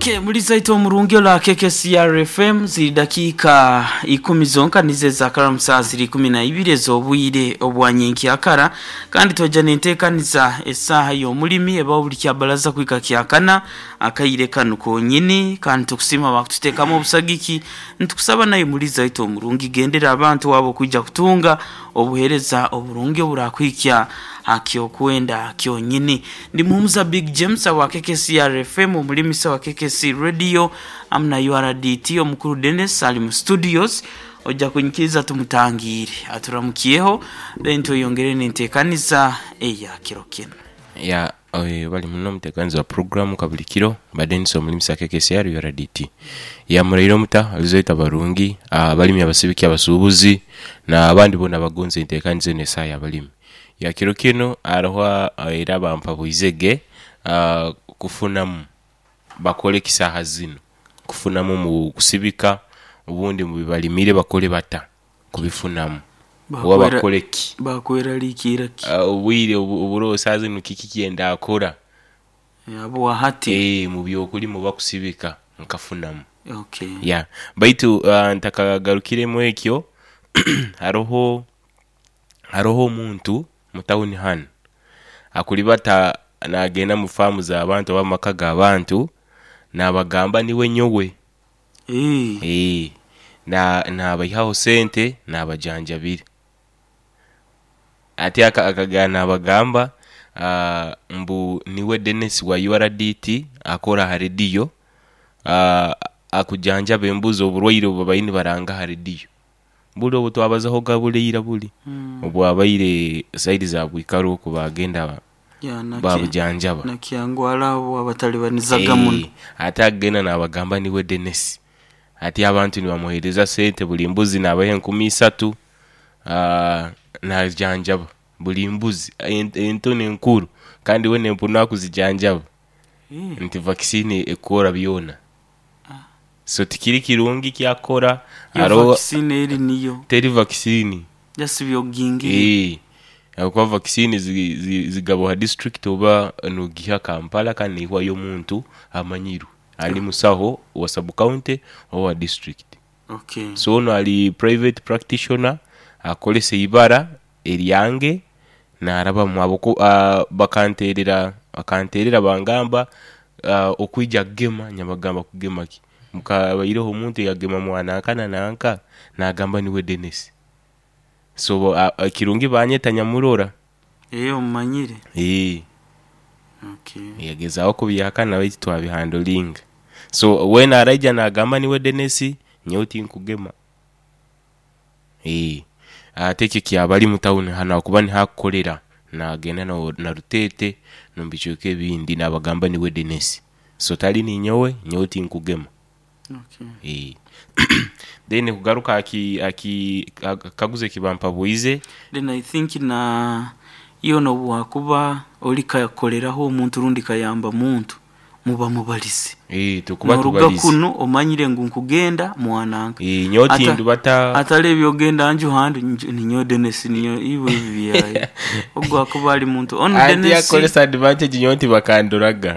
Okay, mulizaito omurungi ola KKCR FM ziri dakiika ikumi zonka nizo ezakara mu saaha ziri 12 ez'obwire obwa nyenkyakara kandi twaija nenteekaniza esaaha y'omulimi ebaho buli kyabaraza kuhika kyakana akaire kanu konyini kandi tukusiima bakututeekamu obusagiki nitukusaba naye mulizaito omurungi gendera abantu abo kwija kutunga obuheereza oburungi oburakuhikya aha kyokwenda kyonyini. Ndi Muhumuza Big James awa KKCR FM, omulimisa wa KKC Radio hamu na URDT. Omukuru Dennis ali mu studios, oija kunyikiriza tumutangiire aturamukyeho then tweyongere n'enteekaniza eya kiro kinu. Ya bali muno omuteekanizi wa puroguramu kabuli kiro mba Denis omulimisa KKCR URDT. Ya muraire omuta alizoita barungi abalimi abasibiki abasuubuzi n'abandi boona abagonza enteekaniza eno esaaha y'abalimi. Ya kiro kinu haroho era bampabwize ge kufunamu bakole ki saaha zinu kufunamu mu kusibika obundi mu byebalimire bakole bata kubifunamu oba bakole ki? Bakweraliikirra ki? Obwire oburoho saaha zinu kiki kyendakora? Habwa hati? Mu by'okulima oba kusibika nkafunamu. Okay. Ya baitu ntakagarukiremu ekyo haroho haroho omuntu mu tawuni hanu akulibata nagenda mu faamu z'abantu oba mu maka g'abantu nabagamba niwe nyowe. Eeh. Nabaihaho sente nabajanjabira. Ati akagenda nabagamba mbu niwe Denis wa URDT akora aha rediyo akujanjaba embuzi oburwaire obu babaire nibaranga aha rediyo. Buli obu twabazahoga buli ira buli obwabaire saidi za Bwikaro oku bagenda babujanjaba. Nakyangwara abo abatalibanizaga muno. Ate agenda nabagamba niwe Denis. Ati abantu nibamuhereza sente buli mbuzi nabaha enkumi isatu najanjaba buli mbuzi ento n'enkuru kandi weena empunu akuzijanjaba nti vakisini ekora byona. So tikiri kirungi kyakora. Yo Haroho vakisini eri niyo? Teri vakisini. Just by'ogingirire. Ahabw'okuba vakisini zigabwa ha disiturikiti oba nogiiha Kampala kandi neihwayo omuntu amanyirwe ali musaho wa sabu kaunti oba wa disiturikiti. Okay. So onu ali private practitioner akozesa eibara eryange narabamu ahabw'okuba bakanterera bakanterera bangamba okwija kugema nabagamba kugema ki? Mukabaireho omuntu eyagema mwananka na nanka nagamba niwe Denis. So kirungi banyeta nyamurora. Omumanyire? Okay. Yagezaho kubihakana baitu twabihandolinga. So weena araija nagamba niwe Denis nyowe tinkugema. Ate ekyo kyaba ari mu tawuni hanu ahakuba niho akukorera nagenda na Ruteete n'omu bicweka ebindi nabagamba niwe Denis. So tari ninyowe, nyowe tinkugema. Okay. Then kugaruka aha kikaguzo eki bampabwize. Then I think na yoona obu wakuba ori kakoreraho omuntu rundi kayamba muntu muba mubalize. Tukuba Noruga tubalize. kunu omanyire ngu nkugenda mwananka. Nyowe tindubata. Atari ebyogenda nju handi ninyowe Denis ninyowe iwe ebi byaye. Ogu akuba ari muntu onu Anti Denis. akozesa advantage nyowe tibakandoraga.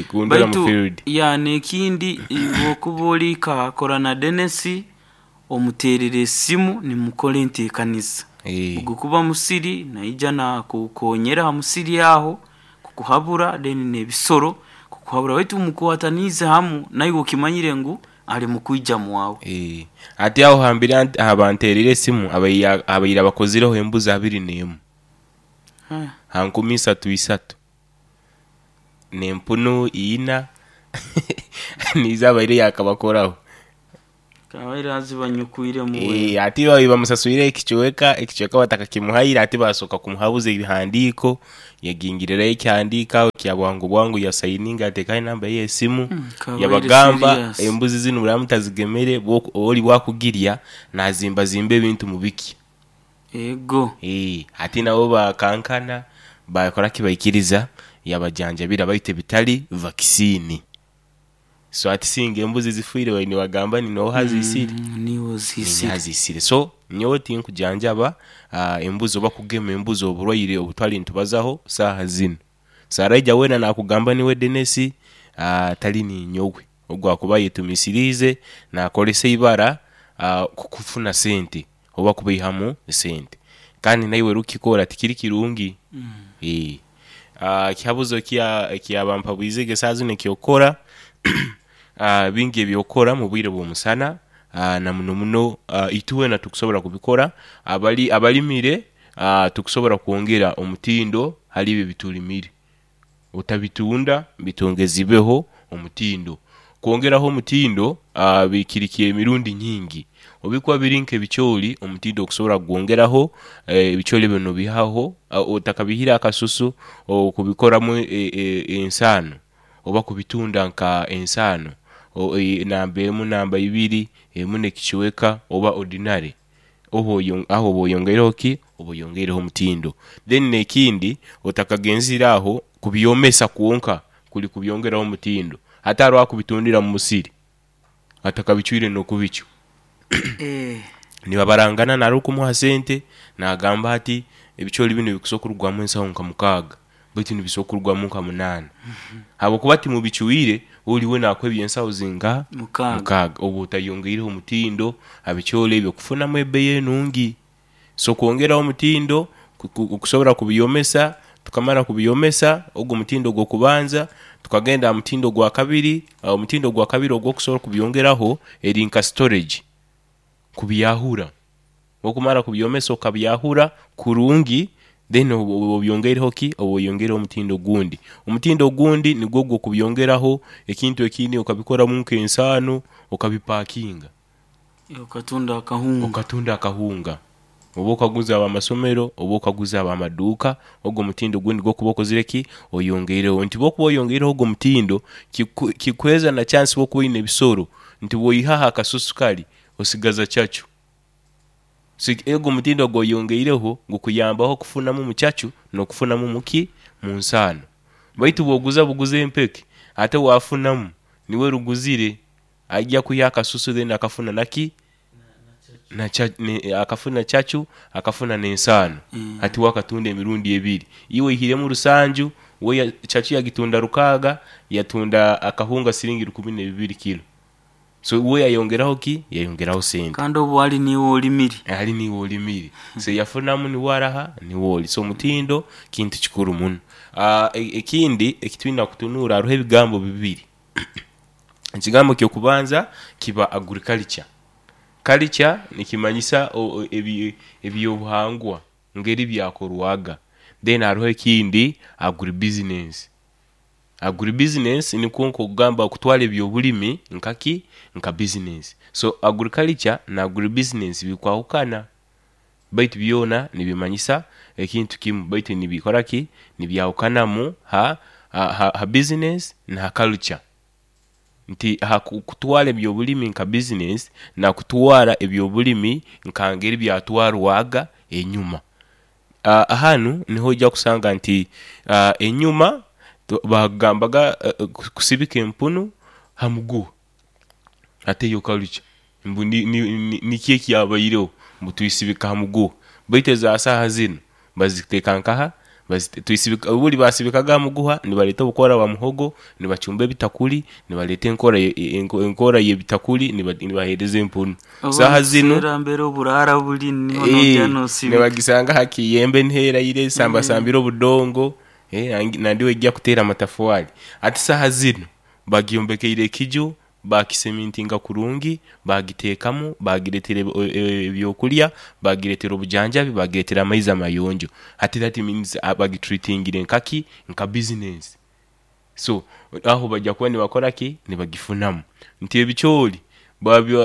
Kundora mu Baitu field. ya n'ekindi bw'okuba ori kakora na Denis omuteerere esimu nimukora enteekaniza. Ogu kuba musiri naija nakukonyera ha musiri aho kukuhabura then n'ebisoro kukuhabura baitu mukwataniize hamu naiwe okimanyire ngu ali mukwija mwawe. Ati aho hambere aha banterire esimu abaire abakozireho embuzi abiri n'emu ha nkumi isatu isatu n'empunu ina niizo abaire yakabakoraho. Kabaire azibanyukwiremu we. Ati babaire bamusaswire ekicweka, ekicweka batakakimuhaire ati basooka kumuhabuza ebihandiiko yagingirirayo ekihandiiko aho kya bwangu bwangu yasayininga yateekaho enamba ye ey'esimu Kabaire yabagamba serious. embuzi zinu muraba mutazigemere ori bwakugirya nazimbazimba ebintu mubikye. Ego. Ati nabo bakankana bakora ki baikiriza yabajanjabira baitu ebitari vakisini. So hati singa embuzi zifiire babaire nibagamba ni nooha aziisire? Niiwe oziisire. Niinye aziisire. So nyowe tinkujanjaba embuzi oba kugema embuzi oburwaire obu twali nitubazaho saaha zinu. So araija weena nakugamba niwe Denis. Tali ninyowe ogu akuba ayetumisiriize nakolesa ibara kufuna sente oba kubaihamu esente kandi naiwe orukukikora tikiri kirungi. Ekihabuzo ekyabampabwizege esaaha zinu ekyokukora bingi ebyokukora mubwire bw'omusana na muno muno itwena tukusobora kubikora abalimire tukusobora kwongera omutindo hali ebi ebitulimire otabitunda bitongezibweho omutindo. Kwongeraho omutindo kiri ky'emirundi nyingi, obu bikuba biri nk'ebicoori omutindo okusobora kugwongeraho ebicoori ebyo nobiihaho otakabihire akasusu okubikoramu ensaano oba kubitunda nka ensaano namba emu, namba ibiri, emu n'ekicweka oba ordinary aho oba oyongeireho ki? Oba oyongeireho omutindo. Then n'ekindi otakagenzire aho kubyomesa kwonka kuli kubyongeraho omutindo, hati haroho akubitundira mu musiri atakabicwire n'okubicwa. Nibabarangana nari okumuha sente nagamba ati ebicoori binu bikusobola kurugwamu ensaho nka mukaaga baitu nibisobola kurugwamu nka munaana habwokuba timubicwire ori we nakuha ebyensaho zingaha? Mukaaga. Oba otayongeireho omutindo ha bicoori ebyo kufunamu ebeeyi enungi. So kwongeraho omutindo kusobora kubyomesa, tukamara kubyomesa ogu omutindo ogw'okubanza, tukagenda aha mutindo ogwa kabiri, omutindo ogwa kabiri ogw'okusobora kubyongeraho eri nka storage, kubyahura. Obu okumara kubyomesa okabyahura kurungi, then oba obyongeireho ki? Oba oyongeireho omutindo ogundi. Omutindo ogundi nigwo ogw'okubyongeraho ekintu ekindi okabikoramu nk'ensaano okabipakinga. Okatunda akahunga. Okatunda akahunga. Oba okaguza ab'amasomero, oba okaguza ab'amaduuka, ogwo omutindo ogundi gw'okuba okozire ki? Oyongeireho. Nti bw'okuba oyongeireho ogwo omutindo, kikuheereza na chansi bw'okuba oine ebisoro, nti bw'oihaho akasusu kari, osigaza cacu. So ogwo omutindo ogw'oyongeireho gukuyambaho kufunamu mu cacu n'okufunamu mu ki? Mu nsaano. Baitu bw'oguza buguza empeke, ate waafunamu, niiwe ruguzire. Aija kwiha akasusu then akafuna naki? Akafuna cacu, akafuna n'ensaano. Hati we akatunda emirundi ebiri. Iwe oihiremu rusanju, we cacu yagitunda rukaaga, yatunda akahunga siringi rukumi n'ebibiri kilo. So we yayongeraho ki? Yayongeraho sente. Kandi obwo ali niiwe olimire. Ali niiwe olimire. So yafunamu niwe araha? Niwe ori. So omutindo kintu kikuru muno. Ekindi eki twine kutunuura hariho ebigambo bibiri. Ekigambo ky'okubanza kiba agriculture. Culture nikimanyisa eby'obuhangwa ngeri byakorwaga. Then hariho ekindi agribusiness. Agribusiness nikwo nk'okugamba kutwara eby'obulimi nka ki? Nka bizinesi. So agriculture na agribusiness bikwahukana baitu byona nibimanyisa ekintu kimu baitu nibikora ki? Nibyahukanamu ha ha bizinesi na ha culture. Nti ha kutwara eby'obulimi nka bizinesi na kutwara eby'obulimi nka ngeri byatwarwaga enyuma. Hanu niho oija kusanga nti enyuma bagambaga kusibika empunu ha muguha. Hati eyo culture mbu niki ekyabaireho mbu twisibika ha muguha baitu eza saaha zinu baziteeka nkaha? Buri basibikaga ha muguha nibareeta obukora bwa muhogo nibacumba ebitakuri nibareeta enkora y'ebitakuri nibaheereza empunu. Saaha zinu Mbere oburara buri niho noija nosibika. Nibagisanga ha kiyembe niho eraire esambasambire obudongo nandi eija kuteera amatafari. Hati saaha zinu Bagyombekeire ekiju, baakisemintinga kurungi, baagiteekamu, baagireetera eby'okurya, baagireetera obujanjabi, baagireetera amaizi amayonjo. Hati that means bagitreatingire nka ki? Nka bizinensi. So aho baija kuba nibakora ki? Nibagifunamu. Nti ebicoori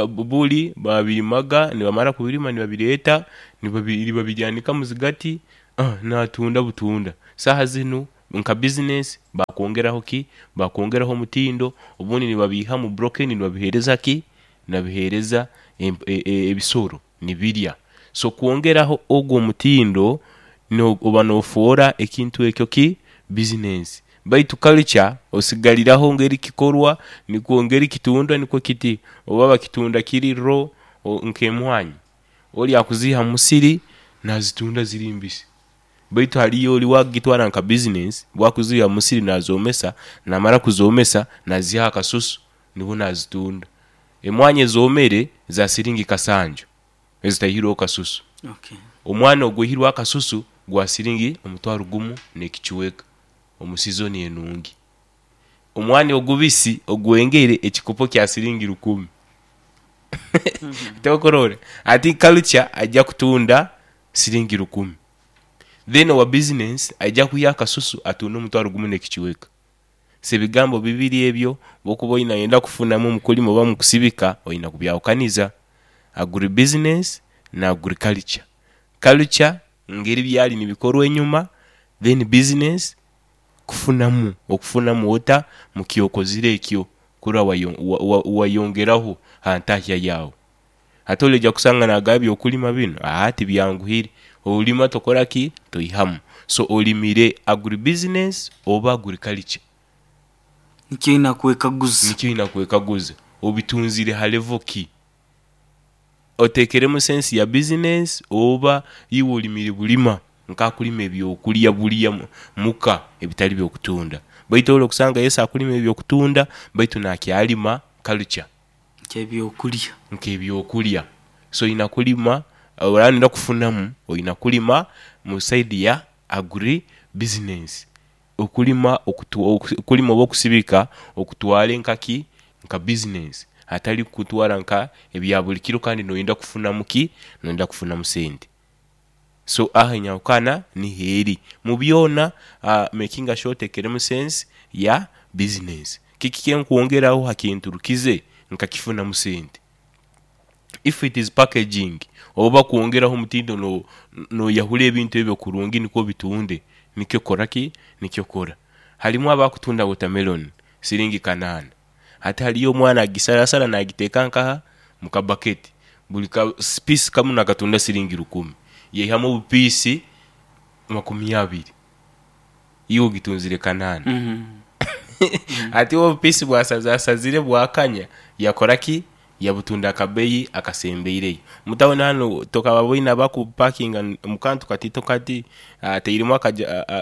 buri baabirimaga, nibamara kubirima nibabireeta, nibabyanika muzigati, naatunda butunda. Saaha zinu Nka bizinesi bakwongeraho ki? Bakwongeraho omutindo, obundi nibabiiha mu broken nibabiheereza ki? Nibabiheereza ebisoro nibirya. So kwongeraho ogwo omutindo oba nofoora ekintu ekyo ki? Bizinesi. Baitu culture osigariraho ngeri kikorwa, nikwo ngeri kitundwa nikwo kiti. Oba bakitunda kiri raw nk'emwaani, ori akuziiha mu musiri nazitunda ziri mbisi. Baitu haliyo oli owakugitwara nka bizinesi, obu akuziiha mu musiri nazoomesa, namara kuzoomesa naziihaho akasusu nibwo nazitunda. Emwanya ezoomere za siringi kasanju ezitaihirweho kasusu. Omwana ogwaihirweho akasusu gwa siringi omutwaro gumu n'ekicweka omu sizoni enungi. Omwani ogubisi ogwengere ekikopo kya siringi rukumi. Tokurora? Ati culture aija kutunda siringi rukumi. Then owa business aija kwiha akasusu atunde omutwaro gumu n'ekicweka. So ebigambo bibiri ebyo bwokuba oine oyenda kufunamu omu kulima oba omu kusibika oine kubyahukaniza, agribusiness na agriculture. Culture ngeri byali nibikorwa enyuma then business kufunamu, okufunamu ota mu kyokozire ekyo kurora wayongeraho ha ntahya yaawe. Ate oraija kusanga nagaba ebyokulima binu, aa tibyanguhire, olima tokora ki? Toihamu. So olimire agribusiness oba agriculture? Nikyo oina kwekaguza. Nikyo oina kwekaguza. Obitunzire ha level ki? Otekeremu sense ya business oba iwe olimire bulima nkakulima ebyokulya bulya muka ebitali byokutunda. Baitu ori okusanga yes akulima ebyokutunda baitu nakyalima culture. Nk'ebyokulya. Nk'ebyokulya. So oina kulima oraba noyenda kufunamu oina kulima mu side ya agri business. Okulima okulima oba okusibika okutwale nka ki? Nka business hatali kutwara nka ebya buli kiro kandi noyenda kufunamu ki? Noyenda kufunamu sente. So aho enyahukana niho eri. Mu byona makinga sure otekeremu sense ya business. Kiki kyenkwongeraho ha kinturukize nkakifunamu sente? If it is packaging oba kwongeraho omutindo noyahura ebintu ebyo kurungi nikwo obitunde, nikyo kora ki? Nikyo kora. Harimu abakutunda watermelon siringi kanaana, hati hariyo omwana agisarasara nagiteeka nkaha? Mu kabaketi, buri ka piisi kamu nakatunda siringi rukumi, yaihamu obupiisi makumi abiri, iwe ogitunzire kanaana. Hati we obupiisi bwasazasazire bwakanya, yakora ki? Yabutunda akabeeyi akasembeireyo. Omu tawuni hanu tokababoine abakupakinga omu kantu kataito kati, atairemu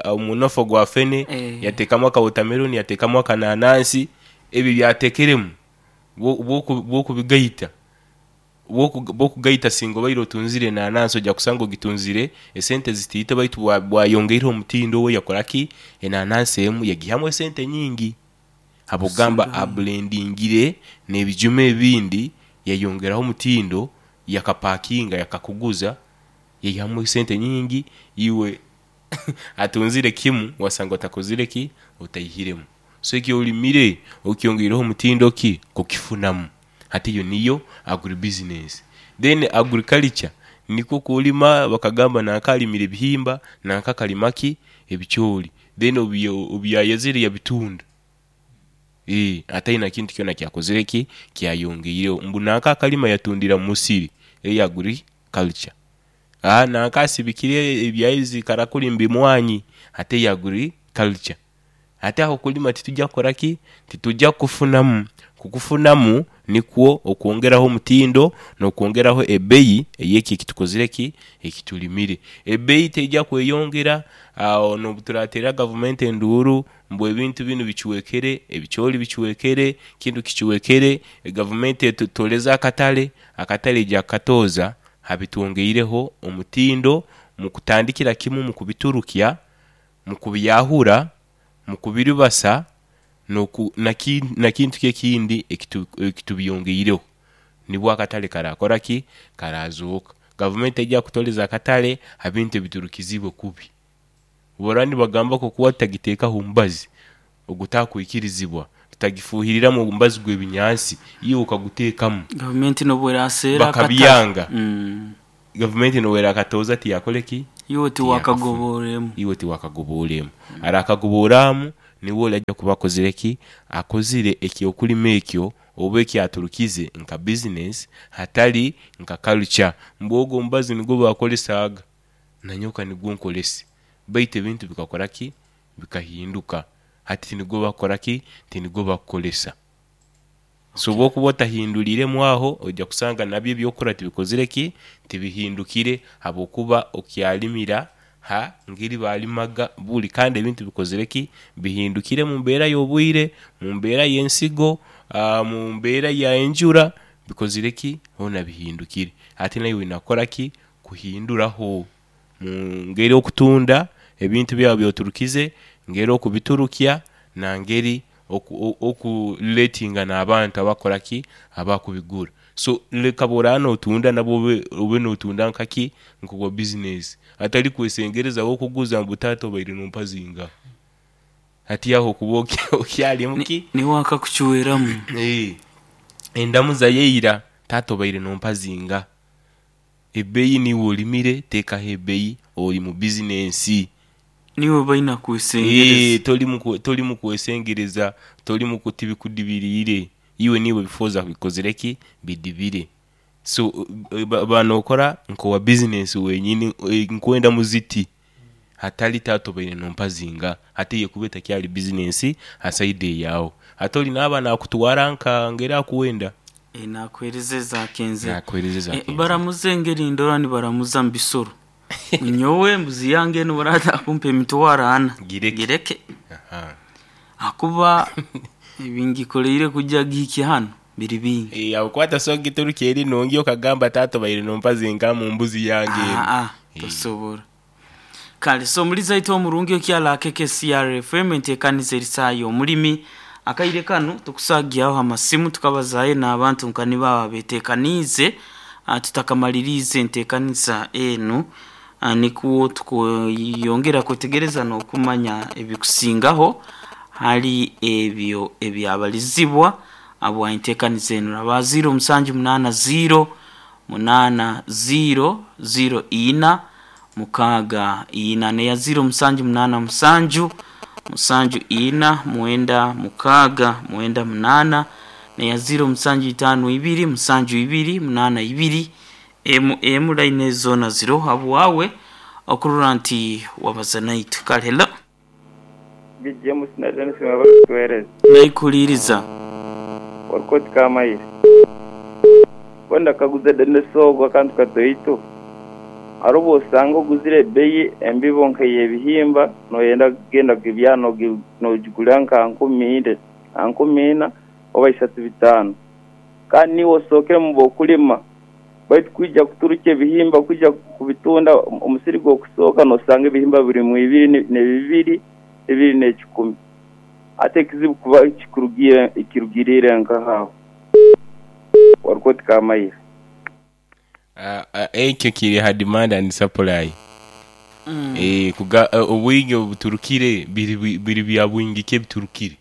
omunofo gwa fene, yateekamu akawotameloni, yateekamu akananansi, ebyo byateekeremu bwokubigaita, bwokugaita singa obaire otunzire enanansi oja kusanga ogitunzire esente zitaito baitu bwayongeireho omutindo we yakora ki? Enanansi emu yagihamu esente nyingi. Habwokugamba aburendingire n'ebijuma ebindi yayongeraho omutindo yakapakinga yakakuguza yaihamu esente nyingi iwe atunzire kimu wasanga otakozire ki? Otaihiremu. So eki orimire okyongeireho omutindo ki? Kukifunamu. Hati eyo niyo agribusiness. Then agriculture nikwo kulima bakagamba nanka arimire ebihimba, nanka akarima ki? Ebicoori. Then obu byayezire yabitunda. Eeh ataine kintu kyona kyakozire ki? Kyayongeireho. Mbu nanka akarima yatundira mu musiri, eyo agriculture. Aah nanka asibikire ebyayezi karakuri mwanyi, hati eyo agriculture. Ate aho okulima titwija kukora ki? Titwija kukufunamu. Kukufunamu nikwo okwongeraho omutindo n'okwongeraho ebbeyi ey'ekyo eki tukozire ki? Eki tulimire. Ebbeyi teija kweyongera agho n'obuturateerera gavumenti enduuru mbu ebintu binu bicwekere, ebicoori bicwekere, kinu kicwekere, gavumenti etutooreze akatale, akatale eija kukatooza habitwongeireho omutindo mu kutandikira kimu mu kubiturukya mu kubyahura, mu kubiribasa, na kintu ki ekindi ekitubyongeireho, nibwo akatale karaakora ki? Karaazooka. Gavumenti teija kutoreza akatale ha bintu ebiturukizibwe kubi. Bora nibagamba ku okuba tutagiteekaho omubazi ogutakwikirizibwa, tutagifuuhiriramu omubazi gw'ebinyansi, iwe okaguteekamu. Gavumenti n'obu eraseera akatale. Bakabyanga. Gavumenti n'obu erakatooza tiyakore ki? Iwe Tiyakafuna. tiwakagobooremu. Iwe tiwakagobooremu. Arakagobooraamu niwe ori aija kuba akozire ki? Akozire eky'okulima ekyo oba eki aturukize nka bizinesi hatari nka culture. Mbu ogwo omubazi nigwo baakoresaaga, nanyowe ka nigwo nkorese. Baitu ebintu bikakora ki? Bikahinduka. Hati tinigwo bakukora ki? Tinigwo bakukoresa. So bwokuba otahinduriiremu aho, oija kusanga nabyo eby'okukora tibikozire ki? Tibihindukire habw'okuba okyalimira Ha ngeri balimaga buli, kandi ebintu bikozire ki? Bihindukire mu mbeera y'obwire, mu mbeera y'ensigo, mu mbeera ya enjura, bikozire ki? Hoona bihindukire. Ate naiwe oina kukora ki? Kuhinduraho mu ngeri okutunda ebintu byawe byoturukize, ngeri okubiturukya, na ngeri okuletinga n'abantu abakukora ki? Abakubigura. So leka bworaba notunda nabwo obe notunda nkaki? Nk'owa bizinesi. Atari kwesengereza wokuguza mbu taata obaire nompa zingaha. Hati aho okuba okyali muki? Niwe akakucweramu. Endamuza yeira, taata obaire nompa zingaha. Ebeeyi niiwe olimire, teekaho ebeeyi, ori mu bizinensi. Niiwe baina kwesengereza. Tori mu kwesengereza, tori mu tibikudibiriire. Iwe niiwe bifooza bikozire ki? Bidibire. So ba nookora nk'owa bizinensi wenyini, nkwenda muziti hatari taata obaire nompa zingaha. Hati eyo ekuba etakyari bizinensi ha saidi eyaawe. Hati ori naaba naakutwara nka ngeri akuwenda. Nakuhereza eza kenzere. Nakuhereza eza kenzere. Baramuza engeri ndora nibaramuza mu bisoro. Nyowe embuzi yange enu barata kumpa emitwaro ana. Gireke. Gireke. Ahakuba ebingikoleire kuja gihikye hanu biri bingi. Ahabw'okuba tosobola kugiturukya eri nungi okagamba taata obaire nompa zingaha mu mbuzi yange enu. Aa, tosobora. Kale so omulizi aitu omurungi okyala KKCR FM entekaniza eri saaha y'omulimi. Akaire kanu tukusagyaho amasimu tukabazaayo n'abantu nka nibo abo abetekaniize tutakamaliriize entekaniza enu, nikwo tukweyongera kwetegereza n'okumanya ebikusingaho hali ebyo ebyabalizibwa habwa entekaniza enu. Raba 0 musanju munaana 0 munaana 0 0 ina mukaaga ina neya 0 musanju munaana musanju musanju ina mwenda mukaaga mwenda munaana neya 0 musanju itaano ibiri musanju ibiri munaana ibiri emu emu line ezo zoona ziroho habwawe okurora nti wabaza naitwe. Kale hello. Big James na Dennis mwebale kutuhereza. Naikuliiriza. Orikoti Kamaire. Mbwenu ndakaguza Dennis ogu akantu katoito. Hariho obu osanga oguzire ebeeyi embibo nk'ey'ebihimba noyenda kugenda kugibyara nogigura nka nkumi ina oba isatu bitaano. Kandi niiwe osookere omu b'okulima baitu kwija kuturukya ebihimba kwija kubitunda omusiri gw'okusooka nosanga ebihimba birimu ibiri n'ebibiri, ibiri n'ekikumi. Hati ekizibu kuba kirugiriire nkaha aho? Warikoti Kamaire. Ekyo kiri aha demand and supply. Obwingi obuturukire biri bya bwingi ki ebiturukire.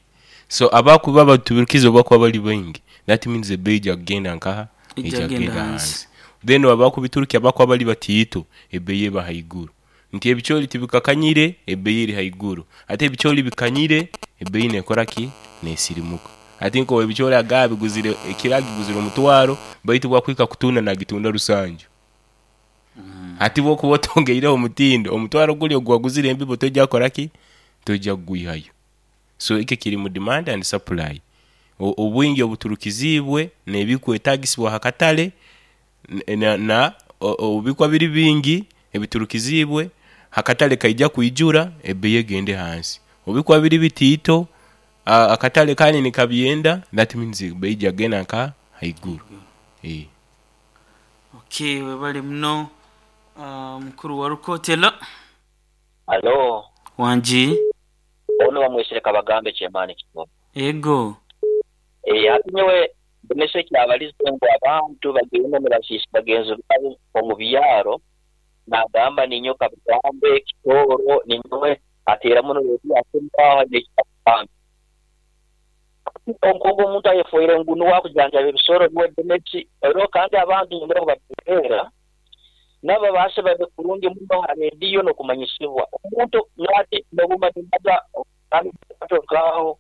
So abakuba abaturukize obu bakuba bari baingi, that means ebeeyi eija kugenda nkaha? Eija Eija kugenda kugenda hansi. hansi. Then abakubiturukya abakuba bari batiito, ebeeyi eba haiguru. Nti ebicoori tibikakanyire, ebeeyi eri haiguru. Ate ebicoori bikanyire, ebeeyi neekora ki? Neesirimuka. Hati nkowe ebicoori aga abiguzire, ekiro agiguzire omutwaro, baitu obu akuhika kutunda naagitunda rusanju. Hati bw'okuba otongeireho omutindo, omutwaro guri ogu waguzire embibo toija kukora ki? Toija kugwihayo. So ekyo kiri mu demand and supply. Obwingi obuturukiziibwe n'ebikwetagisibwa aha katare na obu bikuba biri bingi ebiturukiziibwe, akatare kaija kwijura ebeeyi egende hansi. Obu bikuba biri bitiito, akatare kandi nikabyenda, that means ebeeyi eija kugenda nka haiguru. Okay, webale muno mukuru wa Rukotela. Halo. Wangi. Onu bamwesire Kabagambe Kyemaani Kitono. Ego. Hati nyowe Dennis ekyabalize ngu abantu bagenda nibasiisa bagenzi baabo omu byaro, nagamba ninyowe Kabagambe Kitooro ninyowe ateera muno rediyo aho aine ekyakugamba. Hati nk'ogu omuntu ayefoire ngu nuwe akujanjaba ebisoro nuwe Dennis, oihireho kandi abantu nyongera kubateererra nabo babaase babe kurungi muno ha rediyo n'okumanyisibwa. Omuntu nyowe hati n'obumba nimbaza nk'aho.